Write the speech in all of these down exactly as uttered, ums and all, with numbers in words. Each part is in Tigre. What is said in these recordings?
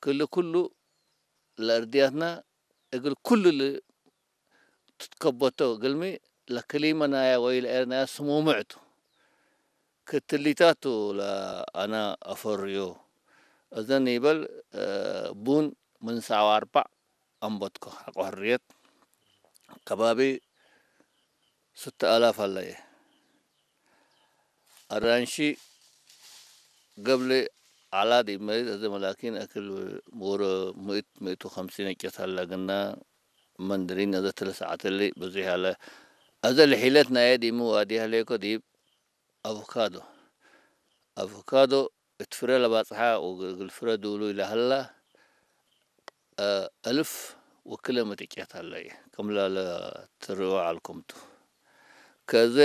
ክል ኩሉ ለእርድያትና እግል ኩሉ ል-፣ ትትከበቶ እግልሚ ለክሊመ ናያ ወይ ለኤርናያ ስሙምዕ ቱ። ክትሊታቱ ለአና አፈርዮ። እዘን ይበል፣ እ፣ ቡን ምን ሰዓት ወአርበዕ አንበትኮ ሐቆ ሕርየት ከባቢ ስተ አላፍ ሀለየ። አራንሺ ገብሌ ዐላ ዲብ መሬት አዘ መላኪን አክል ወረ ምእት፣ ምእት ወከምሲን እጨት ሀለ ግና መንድሪን አዘ ትለ ሰዓት እሊ ብዙሕ ሀለ። አዘ ለሒለት ናየ ዲብ ሚ ዋዲ ሀሌኮ ዲብ አቮካዶ። አቮካዶ እት ፍረ ለባጽሐ ወእግል ፍረ ዱሉይ ለሀላ፣ አ፣ አልፍ ወክለ ምጥቄት ሀለየ፣ ክም ለትርኦ ዐልኩም ቱ። ከዘ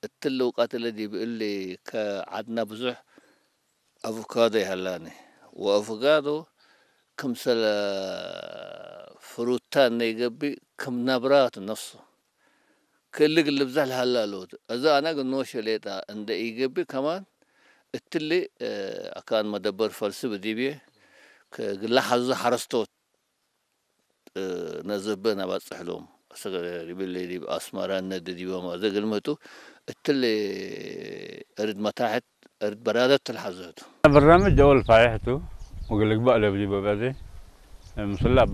እትሊ ውቀት እለ ዲብ እሊ ከዐድና ብዙሕ አቮካዶ ይሀላኒ። ወአቮካዶ ክምሰለ ፍሩታ እነ ኢገብእ ክም ነብራቱ ነፍሱ። ክል እግል ልብዘሕ ለሀላ ሎቱ። እዘ አነ እግል ኖሼ ሌጠ እንደ ኢገብእ ከማን እትሊ፣ እ፣ አካን መደበር ፈልስብ ዲብዬ ከእግል ለሐዙ ሐረስቶት፣ እ፣ ነዘበ ነባጽሕ ሎም። አሰገ ዲብሊ ዲብ አስመረ እነ ዲቦም አዘ እግል ምህቱ እትሊ እርድ መታሕት እርድ በራደት ትልሐዘቱ። በርናምጅ አወል ፋይሕ ቱ ወእግል ልግበእ ለብሊ በበዜ ምስላ አባ